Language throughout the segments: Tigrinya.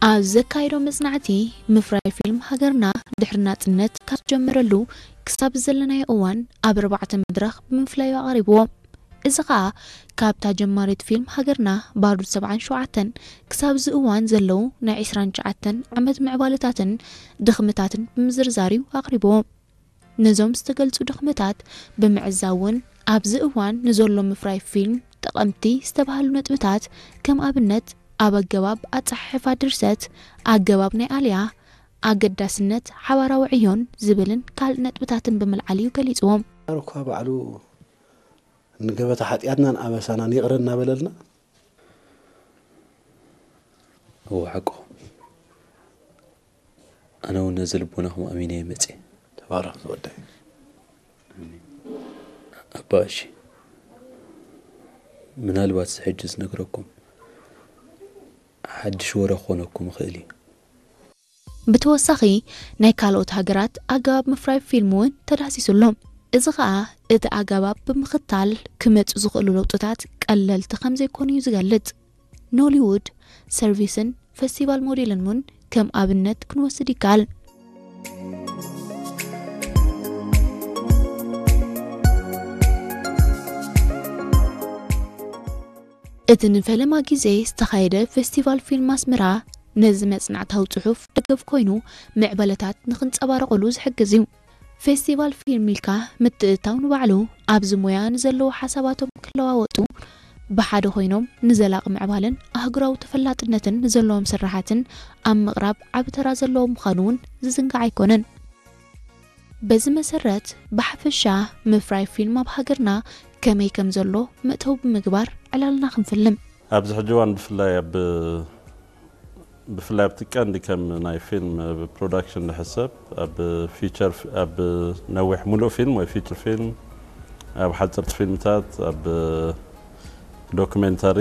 ኣብ ዘካየዶ መጽናዕቲ፣ ምፍራይ ፊልም ሃገርና ድሕሪ ናጽነት ካብ ዝጀመረሉ ክሳብ ዘለናዮ እዋን ኣብ ኣርባዕተ መድረኽ ብምፍላዩ ኣቕሪብዎ። እዚ ኸኣ ካብታ ጀማሪት ፊልም ሃገርና ባሩድ ሰብዓን ሸውዓተን ክሳብ እዚ እዋን ዘለዉ ናይ ዕስራን ትሽዓተን ዓመት ምዕባለታትን ድኽምታትን ብምዝርዛር እዩ ኣቕሪብዎ። ነዞም ዝተገልጹ ድኽመታት ብምዕዛብ እውን ኣብዚ እዋን ንዘሎ ምፍራይ ፊልም ጠቐምቲ ዝተባህሉ ነጥብታት ከም ኣብነት ኣብ ኣገባብ ኣጸሓሕፋ ድርሰት፣ ኣገባብ ናይ ኣልያ፣ ኣገዳስነት ሓባራዊ ዕዮን ዝብልን ካልእ ነጥብታትን ብምልዓል እዩ ገሊጽዎም። እኳ ባዕሉ ንገበታ ሓጢኣትናን ኣበሳናን ይቕረ እናበለልና እወ ሓቅኹም። ኣነ እውን ነዚ ልቦናኹም ኣሚነ እየ መፅየ። ተባረኽ ዝወደይ። ኣባ እሺ፣ ምናልባት እዚ ሕጂ ዝነግረኩም ሓድሽ ወረ ክኾነኩም ይኽእል እዩ። ብተወሳኺ ናይ ካልኦት ሃገራት ኣገባብ ምፍራይ ፊልም እውን ተዳህሲሱ ኣሎ። እዚ ኸኣ እቲ ኣገባብ ብምኽታል ክመጹ ዝኽእሉ ለውጥታት ቀለልቲ ከም ዘይኮኑ እዩ ዝገልጽ። ኖሊውድ ሰርቪስን ፈስቲቫል ሞዴልን እውን ከም ኣብነት ክንወስድ ይከኣል። እቲ ንፈለማ ግዜ ዝተኻየደ ፌስቲቫል ፊልም ኣስመራ ነዚ መጽናዕታዊ ጽሑፍ ደገፍ ኮይኑ ምዕባለታት ንኽንጸባረቐሉ ዝሕግዝ እዩ። ፌስቲቫል ፊልም ኢልካ ምትእትታው ንባዕሉ ኣብዚ ሞያ ንዘለዉ ሓሳባቶም ክለዋወጡ ብሓደ ኮይኖም ንዘላቒ ምዕባለን ኣህጉራዊ ተፈላጥነትን ንዘለዎም ስራሓትን ኣብ ምቕራብ ዓቢ ተራ ዘለዎ ምዃኑ እውን ዝዝንጋዕ ኣይኮነን። በዚ መሰረት ብሓፈሻ ምፍራይ ፊልም ኣብ ሃገርና ከመይ ከም ዘሎ መእተዊ ብምግባር ዕላልና ክንፍልም። ኣብዚ ሕጂ እዋን ብፍላይ ኣብ ብፍላይ ኣብቲ ቀንዲ ከም ናይ ፊልም ፕሮዳክሽን ንሕሰብ ኣብ ፊቸር ኣብ ነዊሕ ሙሉእ ፊልም ወይ ፊቸር ፊልም ኣብ ሓፀርቲ ፊልምታት ኣብ ዶክሜንታሪ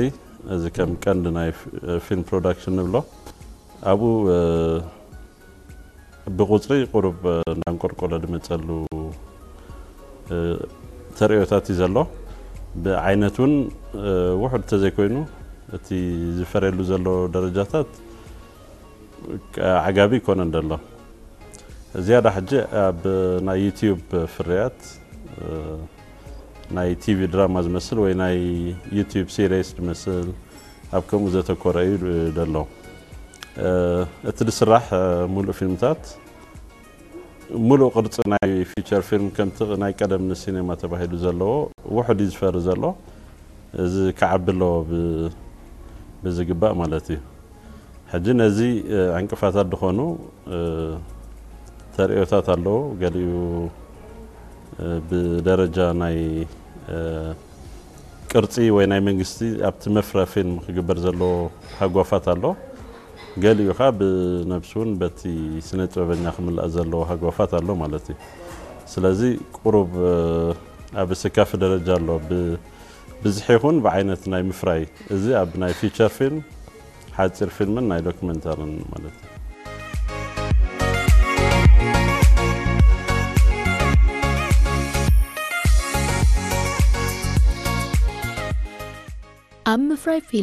እዚ ከም ቀንዲ ናይ ፊልም ፕሮዳክሽን ንብሎ ኣብኡ ብቁፅሪ ቁሩብ እናንቆልቆለ ዝመፀሉ ተርእዮታት እዩ ዘሎ። ብዓይነት እውን ውሑድ ተዘይኮይኑ እቲ ዝፈረየሉ ዘሎ ደረጃታት ዓጋቢ ይኮነን ዘሎ። ዝያዳ ሕጂ ኣብ ናይ ዩቲዩብ ፍርያት ናይ ቲቪ ድራማ ዝመስል ወይ ናይ ዩቲዩብ ሲሪስ ዝመስል ኣብ ከምኡ ዘተኮረ እዩ ዘሎ። እቲ ዝስራሕ ሙሉእ ፊልምታት ሙሉእ ቅርፂ ናይ ፊቸር ፊልም ከምቲ ናይ ቀደም ንሲኔማ ተባሂሉ ዘለዎ ውሑድ እዩ ዝፈሪ ዘሎ። እዚ ክዓቢ ኣለዎ ብዝግባእ ማለት እዩ። ሕጂ ነዚ ዕንቅፋታት ዝኾኑ ተርእዮታት ኣለዉ። ገሊኡ ብደረጃ ናይ ቅርፂ ወይ ናይ መንግስቲ ኣብቲ መፍረ ፊልም ክግበር ዘለዎ ሃጓፋት ኣሎ። ገሊኡ ከዓ ብነብሱ እውን በቲ ስነ ጥበበኛ ክምላእ ዘለዎ ሃጓፋት ኣሎ ማለት እዩ። ስለዚ ቁሩብ ኣብ ስካፊ ደረጃ ኣሎ። ብዝሒ ይኹን ብዓይነት ናይ ምፍራይ እዚ ኣብ ናይ ፊቸር ፊልም ሓፂር ፊልምን ናይ ዶክመንታርን ማለት እዩ። ኣብ ምፍራይ ፊልም